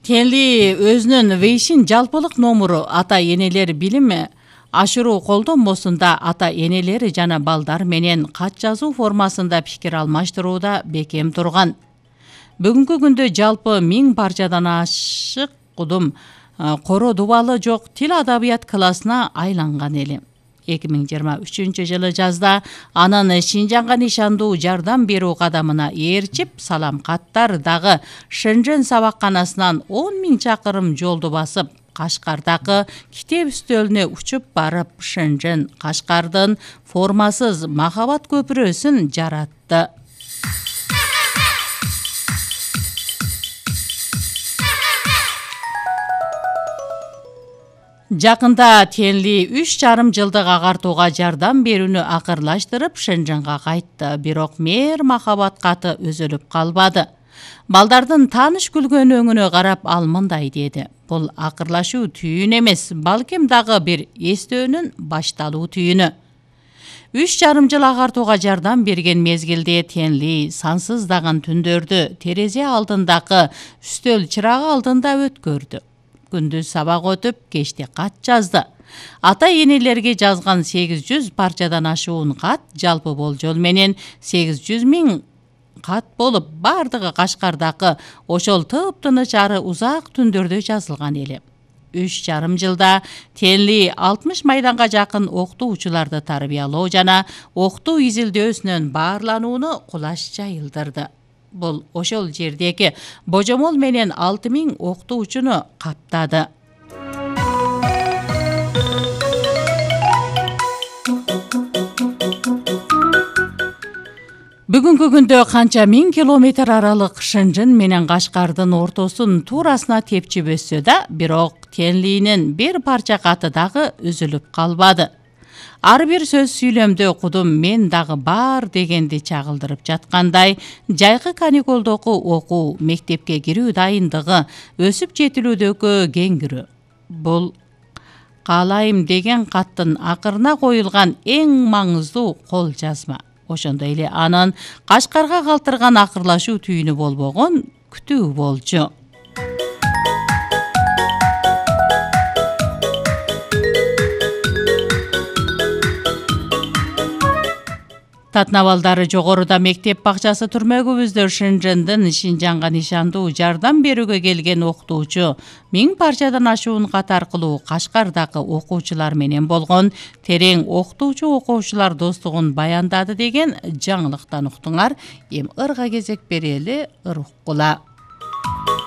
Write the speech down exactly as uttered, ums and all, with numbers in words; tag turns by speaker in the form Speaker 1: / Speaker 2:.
Speaker 1: Тенли өзүнүн Вейшин жалпылык номуру ата энелер билими ашыруу колдонмосунда ата энелери жана балдар менен кат жазуу формасында пикир алмаштырууда бекем турган. Бүгүнкү күндө жалпы миң парчадан ашык кудум коро дубалы жок тил адабият классына айланган эли. эки миң жыйырма үчүнчү жылы жазда анын Шинжанга нишандуу жардам берүү кадамына ээрчип, салам каттар дагы Шэньчжэн сабакканасынан он миң чакырым жолду басып, Кашкардагы китеп үстөлүнө учуп барып, Шэньчжэн Кашкардын формасыз махабат көпүрөсүн жаратты. Жакында Тенли үч жарым жылдык агартууга жардам берүүнү акырлаштырып Шэньчжэнга кайтты, бирок мээр махабат каты үзүлүп калбады. Балдардын тааныш күлгөн өңүнө карап ал мындай деди: бул акырлашуу түйүн эмес, балким дагы бир эстөөнүн башталуу түйүнү. Үч жарым жыл агартууга жардам берген мезгилде Тенли сансыздаган түндөрдү терезе алдындагы үстөл чырагы алдында өткөрдү. Күндүз сабак өтүп, кечте кат жазды. Ата энелерге жазган сегиз жүз парчадан ашуун кат жалпы болжол менен сегиз жүз миң кат болуп, бардыгы Кашкардагы ошол тыптыныч ары узак түндөрдө жазылган эли. Үч жарым жылда Тенли алтымыш майданга жакын окутуучуларды тарбиялоо жана окутуу изилдөөсүнөн баарланууну кулаш жайылдырды. Бул ошол жердеги божомол менен алты миң окутуучуну каптады. Бүгүнкү күндө канча миң километр аралык Шэньчжэн менен Кашкардын ортосун туурасына тепчип өссө да, бирок Тенлинин бир парча каты дагы үзүлүп калбады. Ар бир сөз сүйлөмдө кудум мен дагы бар дегенди чагылдырып жаткандай, жайкы каникулдогу окуу, мектепке кирүү дайындыгы, өсүп жетилүүдөгү кеңгирүү. Бул каалайм деген каттын акырына коюлган эң маңыздуу кол жазма. Ошондой эле анын Кашкарга калтырган акырлашуу түйүнү болбогон күтүү болчу. Татына балдары жогоруда мектеп бакчасы түрмөгүбүздө Шэньчжэндин Шинжанга нишандуу жардам берүүгө келген окутуучу миң парчадан ашуун кат аркылуу Кашкардагы окуучулар менен болгон терең окутуучу окуучулар достугун баяндады деген жаңылыктан уктуңар. Эми ырга кезек берели, ыр уккула.